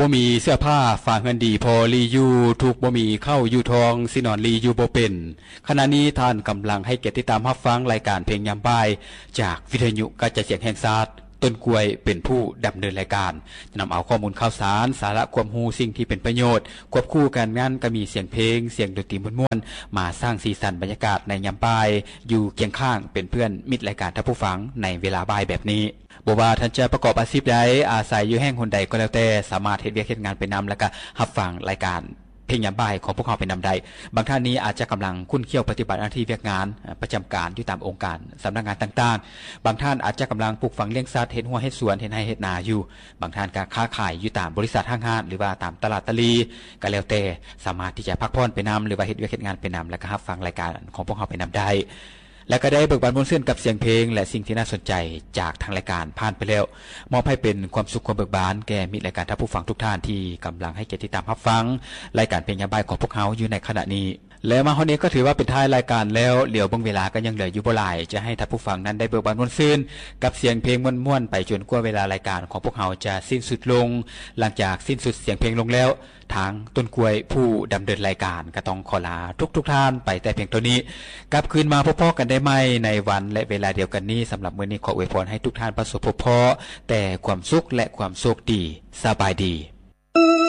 ບໍ່ມີເສື້ອຜ້າຝາເຮືອນດີພໍລີຢູ່ ທຸກບໍ່ມີເຂົ້າຢູ່ທ້ອງ ຊິນອນລີຢູ່ບໍ່ເປັນ. ຂະນະນີ້ທ່ານກຳລັງໃຫ້ກຽດຕິດຕາມຮັບຟັງລາຍການເພງຍາມບ່າຍ ຈາກວິທະຍຸກະຈາຍສຽງແຫ່ງຊາດ, ຕົ້ນກ້ວຍເປັນຜູ້ດຳເນີນລາຍການ, ນຳເອົາຂໍ້ມູນຂ່າວສານ, ສາລະຄວາມຮູ້, ສິ່ງທີ່ເປັນປະໂຫຍດ, ຄວບຄູ່ກັນນັ້ນກໍມີສຽງເພງ, ສຽງດົນຕີມ່ວນໆ ມາສ້າງສີສັນບັນຍາກາດໃນຍາມບ່າຍ ຢູ່ຄຽງຂ້າງເປັນເພື່ອນມິດລາຍການທ່ານຜູ້ຟັງໃນເວລາບ່າຍແບບນີ້. ບໍ່ວ່າທ່ານຈະປະກອບອາຊີບໃດ, ອາໄສຢູ່ແຫ່ງຫົນໃດກໍແລ້ວແຕ່, ສາມາດເຮັດວຽກເຮັດງານໄປນຳ ແລ້ວກະຮັບຟັງລາຍການເພງຍາມບ່າຍຂອງພວກເຮົາໄປນຳໄດ້. ບາງທ່ານນີ້ອາດຈະກຳລັງຂຸ້ນຂ້ຽວປະຕິບັດໜ້າທີ່ວຽກງານ ປະຈຳການຢູ່ຕາມອົງການສຳນັກງານຕ່າງໆ. ບາງທ່ານອາດຈະກຳລັງປູກຝັງລ້ຽງສັດ, ເຮັດຮົ້ວເຮັດສວນ, ເຮັດໄຮ່ເຮັດນາຢູ່. ບາງທ່ານກໍຄ້າຂາຍຢູ່ຕາມບໍລິສັດຫ້າງຮ້ານ ຫຼືວ່າຕາມຕະຫຼາດຕະຫຼີ, ກໍແລ້ວແຕ່, ສາມາດທີ່ຈະພັກຜ່ອນໄປນຳ ຫຼືວ່າເຮັດວຽກເຮັດງານໄປນຳ ແລ້ວກໍຮັບຟັງລາຍການຂອງພວກເຮົາໄປນຳໄດ້. ແລະກໍໄດ້ເບີກບານມ່ວນຊື່ນກັບສຽງເພງ ແລະສິ່ງທີ່ໜ້າສົນໃຈຈາກທາງລາຍການຜ່ານໄປແລ້ວ, ມອບໃຫ້ເປັນຄວາມສຸກຄວາມເບີກບານແກ່ມິດລາຍການທ່ານຜູ້ຟັງທຸກທ່ານທີ່ກຳລັງໃຫ້ກຽດຕິດຕາມຮັບຟັງລາຍການເພງຍາມບ່າຍຂອງພວກເຮົາຢູ່ໃນຂະນະນີ້. ແລະມາຮອດນີ້ກໍຖືວ່າເປັນທ້າຍລາຍການແລ້ວ, ຫຼຽວເບິ່ງເວລາກໍຍັງເຫຼືອຢູ່ບໍ່ຫຼາຍ, ຈະໃຫ້ທ່ານຜູ້ຟັງນັ້ນໄດ້ເບີກບານມ່ວນຊື່ນກັບສຽງເພງມ່ວນໆໄປຈົນກວ່າເວລາລາຍການຂອງພວກເຮົາຈະສິ້ນສຸດລົງ. ຫຼັງຈາກສິ້ນສຸດສຽງເພງລົງແລ້ວ, ທາງຕົ້ນກ້ວຍຜູ້ດຳເນີນລາຍການກໍຕ້ອງຂໍລາທຸກໆທ່ານໄປແຕ່ພຽງເທົ່ານີ້. ກັບຄືນມາພົບພໍ້ກັນໄດ້ໃໝ່ໃນວັນ ແລະ ເວລາດຽວກັນນີ້. ສຳລັບມື້ນີ້ຂໍອວຍພອນໃຫ້ທຸກທ່ານປະສົບພົບພໍ້ແຕ່ຄວາມສຸກ ແລະ ຄວາມໂຊກດີ. ສະບາຍດີ.